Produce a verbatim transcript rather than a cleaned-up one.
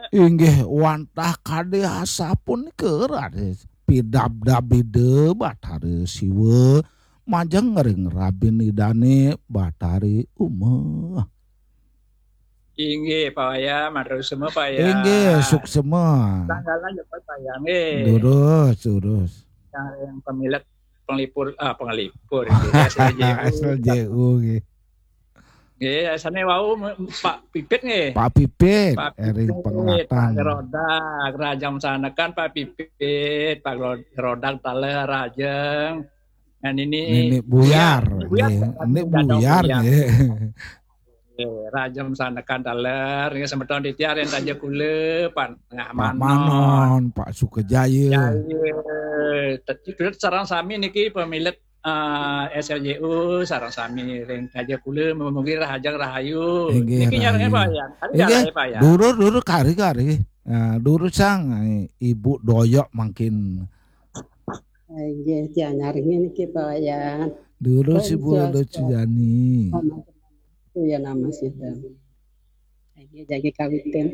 Inggih wantah kadi asapunika raris pidabdabida Batara Siwa majeng ring rabin Idane Batari Uma. Inggih, Pak Wayan, matur suksma, Pak Wayan. Inggih, suksma. Tanggalan ya, Pak Wayan, nggih. Durus, durus. Yang, yang pemilet penglipur, ah, penglipur, gitu, S L J U. S L J U nggih. Nggih, sane wau me- Pak Pipit nggih. Pak Pipit, Pak ering Pipit, penglatan. Pak Rodak, Rajang Sanekan, Pak Pipit, Pak Ro- Rodak Taler, Rajeng. Nah, ini Nini Buyar, Buyar, nggih. Pak, Nini Buyar, Buyar, Buyar. nggih. Eh, Rajang Sanekan Taler, nggih, semeton titiang ring Taja Kula, Pak Tengah Pak Manon. Manon, Pak Sukajaya. Ya, iya. Tadi sareng sami niki pemilet eh, S L J U sareng sami ring Taja Kula, mugi rahajeng rahayu. Inggih, Niki nyarengin rahayu. Pak Wayan. Kari Inggih, nyarengin Pak Wayan. Durus, durus, kari, kari. Nah, durus sang, eh, Ibu Doyok mangkin. Inggih, tiang nyarengin niki Pak Wayan. Durus Om Ibu Swastiastu. Luciani. Om Swastiastu ya nama sida. Inggih, jagi kawitin.